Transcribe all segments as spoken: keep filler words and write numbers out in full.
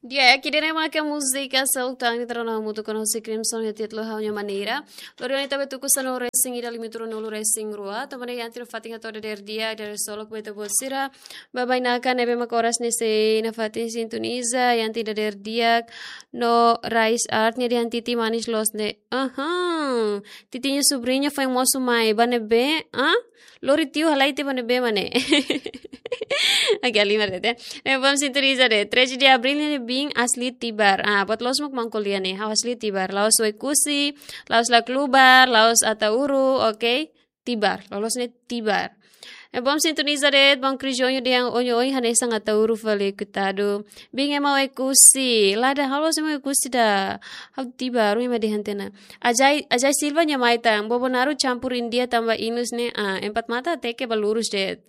Di'ak, ida-ne'e mak múzika seluk tan ita rona hamutuk ho Crimson iha títulu Ha'u-nia Maneira. Lori ona ita bá tuku sanulu-resin-ida, limitu ruanulu-resin-rua. Tanba ne'e iha ita-nia fatin hato'o dadeer di'ak, dadeer solok ba ita-boot sira. Ba bainaka ne'ebé mak oras ne'e sei nafatin sintoniza, iha ita dadeer di'ak. No Rice Art nia dehan Titi manis loos ne'e. Aham. Titi nia subriña foin mosu mai, ba ne'ebé, ah? Lori tiu halai tiha ba ne'ebé mak ne'e. Oke, halimar de'it. Ne'e bom sintoniza de'it. Treze de abril ne'e biin asli Tibar. Ah, buat loos mak maun ko'alia ne'e. Ha'u asli Tibar. La'ós Oekusi, la'ós Laclubar, la'ós Ataúru, oke? Tibar. Loloos ne'e Tibar. Ne'e bom sintoniza de'it, maun Crisoño dehan oin-oin hanesan Ataúru fali, koitadu. Biin ema Oekusi. Lae, ha'u la'ós ema Oekusi ida. Ha'u Tibar, oin ema dehan tiha ona. Ajai, Ajai Silva nia mai tan, Bobonaro campur India tanba inus ne'e, ah, empat mata até ke ba lurus de'it.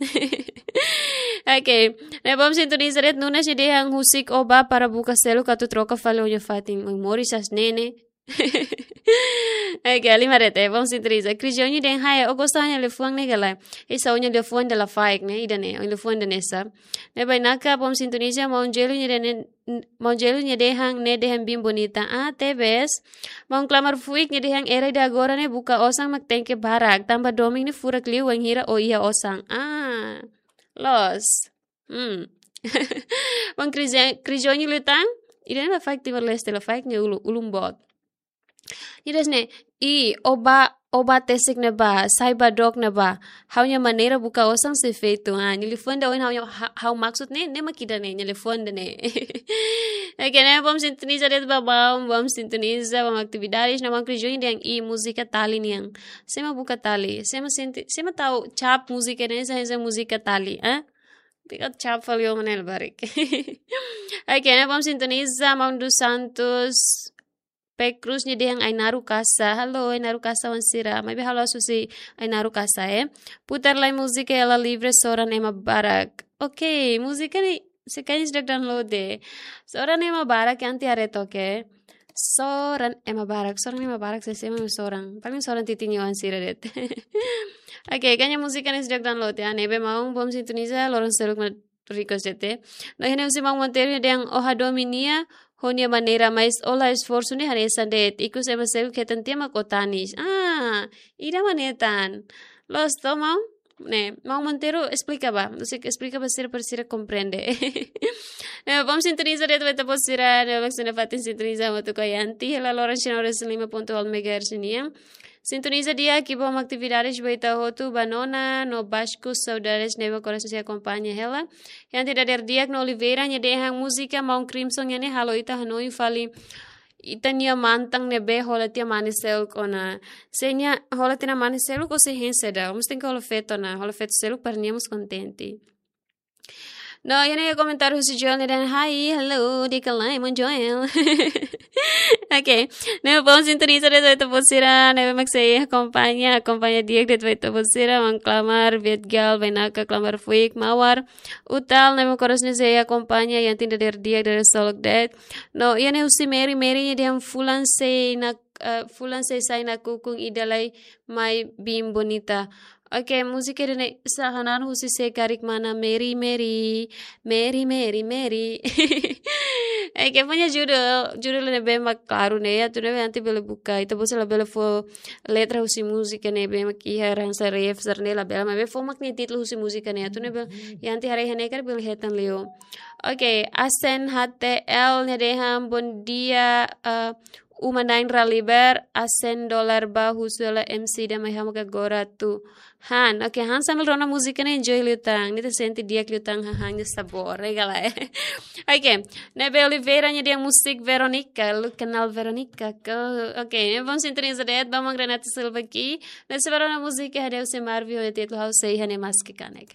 Oke, ne'e bom sintoniza de'it, Nunes nia dehan husik ó bá para buka seluk atu troka fali ó-nia fatin, oin moris hanesan ne'e. Oke, halimar de'it, bom sintoniza. Crisoño dehan, "Hai, ó gosta ha'u-nia liafuan ne'e ka lae?" Hanesan ó-nia liafuan ida la faek ne'e, ida-ne'e, ó-nia liafuan ida-ne'e sa. Ne'e bainaka, bom sintoniza, maun Jelu nia dehan, maun Jelu nia dehan, ne'e dehan biin bonita. Ah, tebes. Maun Klamar Fuik nia dehan, "Era ida agora ne'e buka osan mak tenke barak. Tanba domin ne'e furak liu wainhira ó iha osan." Ah, loos. Hmm. Maun Crisoño, Crisoño liután, ida-ne'e la faek Timor-Leste, la faek nia ulun, ulun boot. Ida-ne'e, i, ó bá, ó bá tesik ne'ebá, sai bá dook ne'ebá. Ha'u-nia maneira buka osan sei feto. Ah, nia liafuan ida ohin ha'u, ha'u, ha'u maksud ne'e, ne'e mak ida-ne'e, nia liafuan ida-ne'e. Oke, ne'e bom sintoniza de'it ba maun, bom sintoniza, bom atividades, ne'e maun Crisoño dehan i múzika Tali nian. Sé mak buka Tali, sé mak sente, sé mak tau cap múzika ne'e, hanesan múzika Tali, eh? Tika cap fali ó maun ne'e labarik. Oke, ne'e bom sintoniza, maun dos Santos. Pe Cruz nia dehan Ainaro Kasa. Halo, Ainaro Kasa wan sira. Maibé halo asusi Ainaro Kasa, eh. Putar lai múzika Ela Livre, Soran Ema Barak. Oke, múzika ne'e se kain sejak download de'it. Soran Ema Barak, iha ita haree took. Soran Ema Barak, Soran Ema Barak, sé, sé mak soran. Paling soran Titi nia oan sira de'it. Oke, kain múzika ne'e sejak download ya. Ne'ebé maun bom sintoniza, loron seluk mak request de'it. No iha ne'e husi maun Monteiro dehan ó hadomi nia, ho nia maneira, mas ó la esforsu ne'e hanesan de'it. Ikus ema seluk hetan tiha mak ó tanis. Ah, ida mak ne'e tan. Loos to maun? Ne'e, maun Monteiro esplika ba. Husik esplika ba sira para sira komprende. Ne'e, bom sintoniza de'it ba ita-boot sira, ne'e, bom sira fatin sintoniza hamutuk ho iha ita, hela loron sanulu-resin-lima pontu haat megahertz nian. Sintoniza di'ak, bom atividades ba ita hotu, ba nona, no Basco, saudades, ne'ebé korasaun sei akompaña hela. Iha ita dadeer di'ak no Oliveira, nia dehan múzika maun Crimson nian ne'e halo ita hanoin fali ita-nia mantan ne'ebé hola tiha mane seluk ona. Se nia hola tiha mane seluk ó sei hein saida, ó mós tenke hola feto ona, hola feto seluk para nia mós kontente. No, iha ne'e komentáriu husi Joel nia dehan, "Hai, halo, di'ak ka lae, maun Joel?" Oke. Ne'e bom sintoniza de'it ba ita-boot sira, ne'ebé mak sei akompaña, akompaña di'ak de'it ba ita-boot sira, maun Klamar, Betgal, Bainaka, Klamar Fuik, Mawar, Utal, ne'ebé korasaun sei akompaña, iha ita dadeer di'ak, dadeer solok de'it. No, iha ne'e husi Mary, Mary nia dehan fulan sei na, eh, fulan sei sai nakukun ida lai mai biin bonita. Oke, múzika ida-ne'e sa hanan husi sé karik mana Mary, Mary, Mary, Mary, Mary. Oke, punya judul, judul ne'ebé mak klaru ne'e, atu ne'ebé ita bele buka, ita-boot sira labele fó letra husi múzika ne'ebé mak iha ransa ref, sira-ne'e labele, maibé fó mak nia títulu husi múzika ne'e, atu ne'ebé, iha ita haree iha ne'e karik bele hetan liu. Oke, Asen H T L nia dehan, "Bom dia, eh, uma na'in-rua liber, asen dolar ba husu hela M C ida mai hamutuk agora atu." Han, oke, han sambil rona múzika ne'e enjoy liután. Ita sente di'ak liután hahán nia sabór, ne'e ka lae. Oke, ne'ebé Oliveira nia dehan musik Veronica, lu kenal Veronica ka. Oke, ne'e bom sintoniza de'it ba maun Renato Silva ki'ik. Ne'e sei bá rona múzika iha ne'e husi Marvin ho títulu Ha'u Sei Iha Ne'e Maski Kanek.